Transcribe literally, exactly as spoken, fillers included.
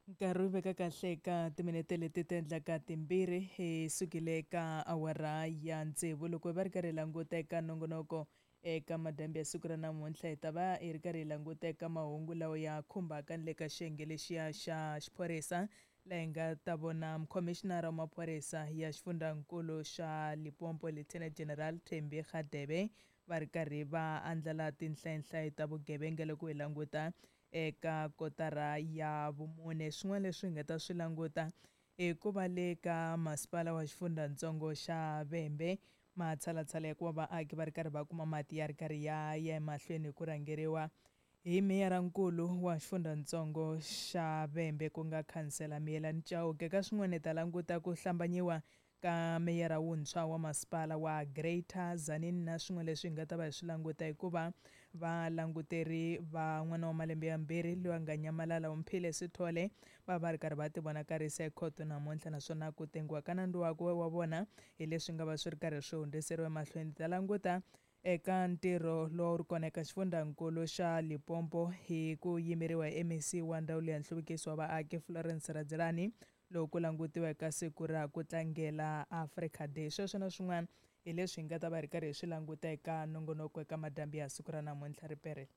Nkarhi wu veka kahle eka timinete leti ti endlaka timbirhi hi sukile eka awara ya tsevu. Loko hi va ri karhi hi languta eka nongonoko eka madyambu ya siku ra namuntlha, hi ta va hi ri karhi hi languta eka mahungu lawa ya khumbaka ni le ka xiyenge lexiya xa xiphorisa, laha hi nga ta vona mukhomixinara wa maphorisa ya xifundzankulu xa Limpopo, Lieutenant General Thembi Radebe, va ri karhi va andlala tinhlayinhlayo ta vugevenga loko hi languta eka kotara ya vumune. Swin'wana leswi hi nga ta swi languta i ku va le ka masipala wa xifundzatsongo xa Vhembe, matshalatshala ya ku va vaaki va ri karhi va kuma mati ya ri karhi ya ya emahlweni hi ku rhangeriwa hi meyarankulu wa xifundzatsongo xa Vhembe, ku nga khansela Miyelani Chauke. Ka swin'wana hi ta languta ku hlambanyiwa ka meyara wuntshwa wa masipala wa Greater Tzaneen, na swin'wana leswi hi nga ta va hi swi languta hikuva valanguteri va n'wana wa malembe yambirhi loyi a nga nyamalala Omphile Sithole va va ri karhi va ti vonakarisa ekhoto namuntlha, naswona ku tengiwa ka nandzu wakwe wa vona hi leswi nga va swi ri karhi swi hundziseriwa emahlweni. Ta languta eka ntirho lowu ri kona eka xifundzankulu xa Limpopo hi ku yimeriwa hi M E C wa ndzawulo ya nhluvukiso wa vaaki Florence Radzilani, loko ku langutiwa eka siku ra ku tlangela Africa Day. Sweswo na swin'wana hi leswi hi nga ta va hi ri karhi hi swi languta eka nongonoko eka madyambu ya siku ra namuntlha. Riperile.